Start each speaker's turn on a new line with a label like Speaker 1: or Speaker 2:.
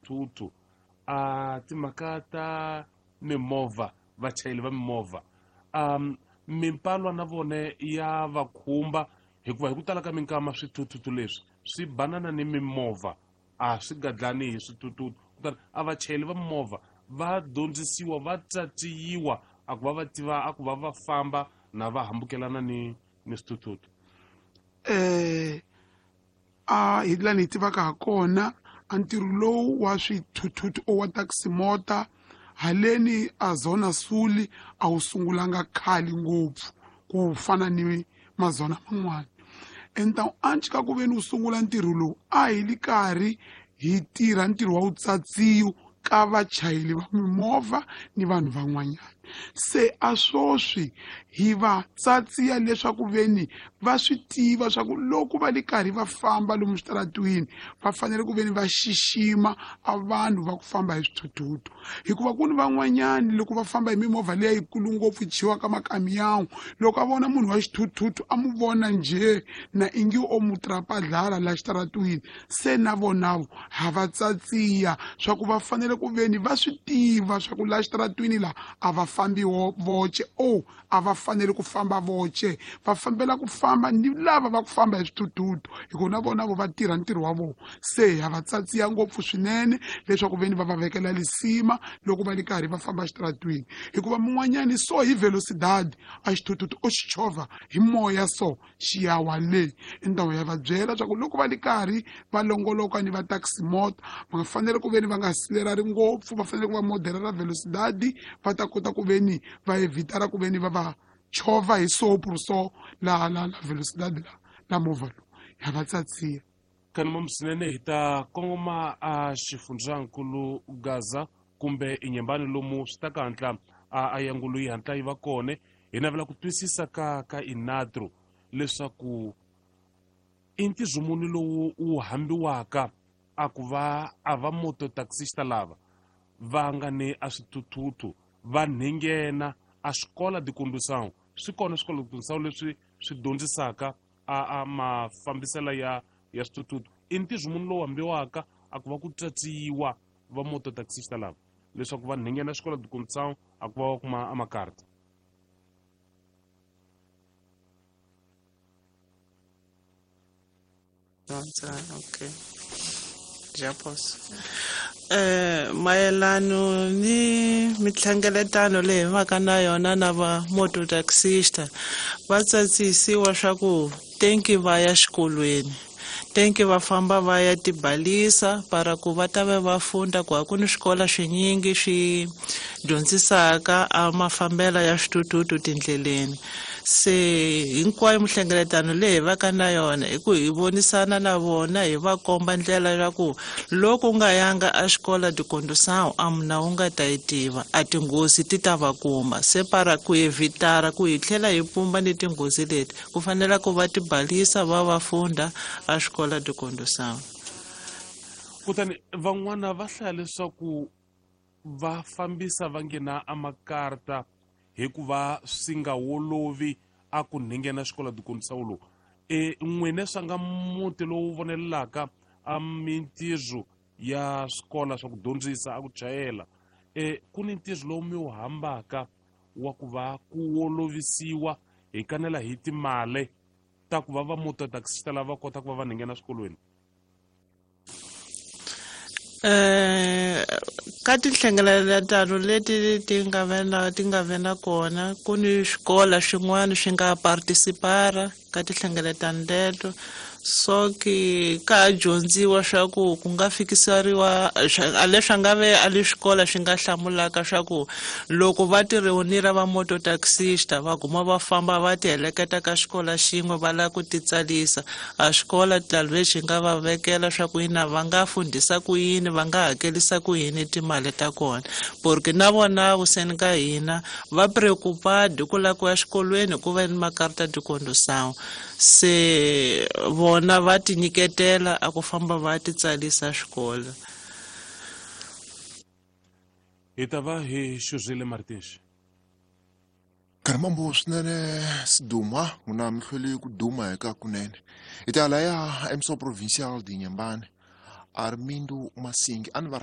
Speaker 1: swithuthuthu a timhaka ta mimovha vachayeri va mimovha mimpalwa na vone ya va khumba hikuva hi ku tala ka minkama swithuthuthu leswi swi banana ni mimovha a swi gadlani hi swithuthuthu kutani a vachayeri va mimovha va dyondzisiwa va tatiyiwa a ku va va tiva a ku va va famba na va hambukelana ni ni swithuthuthu.
Speaker 2: A hi laha ni tivaka ha kona a ntirho lowu wa swithuthuthu o wa taxi-mota haleni a Zona Sul a wu sungulanga khale ngopfu ku fana ni mazona man'wana. Enta anci ka ku veni wu sungula ntirho lowu a hi li karhi hi tirha ntirho wa vutsatsiyo ka vachayeri va mimovha ni vanhu van'wanyana. Se a swoswi hi va tsatsiya leswaku veni va swi tiva swa ku loko va li karhi va famba lomu switaratwini va fanele ku veni va xixima a vanhu va ku famba hi swithuthuthu, hikuva ku ni van'wanyani loko va famba hi mimovha leyi yikulu ngopfu yi chiwaka makamiyawu, loko a vona munhu wa xithuthuthu a mu vona njhe na ingi o mu trapadlala la xitaratwini, se na vonavo ha va tsatsiya swa ku va fanele ku veni va swi tiva swa ku la xitaratwini la a va fambi voce o a va fanele ku famba voce, va fambela ku famba ni lava va ku famba hi swithuthuthu, hikuva na vona vo va tirha ntirho wa vona. Se ha va tsatsiya ngopfu swinene leswaku veni va va vekela lisima loko va li karhi va famba xitaratwini, hikuva mun'wanyani so hi velocidade a xithuthuthu o xi chovha hi moya so xi ya wa le. I ndhawu ya va byela swa ku loko va li karhi va longoloka ni va taxi-mota va nga fanele ku veni va nga accelerari ngopfu, va fanele ku va moderera velocidade va ta kota ku veni va evitara ku veni va va chovha hi sopru so la la la velocidade la la movha lowu ya va tsatsiya.
Speaker 1: Kanuma swinene hi ta kongoma a xifundzankulu Gaza kumbe Inyembani lomu swi ta ka hatla a yangulu yi hatla yi va kona. Hi navela ku twisisa ka Inatro leswaku i ntirho muni lowu wu hambiwaka a ku va a va moto taxista lava va nga ni a swithuthuthu va nghena a swikola de condução. Swi kona swikolo de condução leswi swi dyondzisaka a mafambiselo ya swithuthuthu. I ntirho muni lowu hambiwaka a ku va ku tsatsiwa va moto taxista lava leswaku va nghena xikolo de condução a ku va va kuma a makarta?
Speaker 3: Okay. Já posso. Mayelano ni minhlengeletano leyi hi vaka na yona na va mototaxista va tsatsisiwa swa ku tenki va ya xikolweni, tenki va famba va ya tibalisa para ku va ta va va funda ku a ku ni swikolo swinyingi swi dyondzisaka a mafambelo ya swithuthuthu tindleleni. Se hinkwayo minhlengeletano leyi hi vaka na yona i ku hi vonisana na vona hi va komba ndlela ya ku loko u nga yanga a xikola de condução a muna u nga ta yi tiva a tinghozi ti ta va kuma. Se para ku evitara ku hi tlhela hi pumba ni tinghozi leti ku fanele ku va tibalisa va va funda a xikola de condução.
Speaker 1: Kutani van'wana va hlaya leswaku va fambisa va nghena a makarta hikuva swi nga wolovi a ku nghena xikola de condução lowu. N'wina swa nga muti lowu vonelelaka a mintirho ya swikola swa ku dyondzisa a ku chayela, ku ni ntirho lowu mi wu hambaka wa ku va ku wolovisiwa hi kanela hi timali ta ku va va moto taxista lava kota ku va va nghena swikolweni?
Speaker 3: Ka tinhlengeletano leti ti nga ve na kona ku ni swikola swin'wana swi nga participara ka tinhlengeletano teto, so ki ka dyondziwa swa ku ku nga fikiseriwa a leswi nga ve a le swikola swi nga hlamulaka swa ku loko va ti reunira va moto taxista va guma va famba va ti heleketa ka xikola xin'we va lava ku titsalisa a xikola talvez xi nga va vekela swa ku yini va nga fundhisa ku yini va nga hakelisa ku yini timali ta kona, porque na vona vuseni ka hina va preocupado ku lava ku ya xikolweni ku va ni makarta de condução. Se vona va tinyiketela a ku famba va titsalisa xikolo.
Speaker 1: Hi ta va hi xuzile Martins.
Speaker 4: Karimambo swinene Siduma n'wina mi hlwele ku duma eka kunene. Hi ta laya emso provincial de Inhambane Armindo Masingi a ni va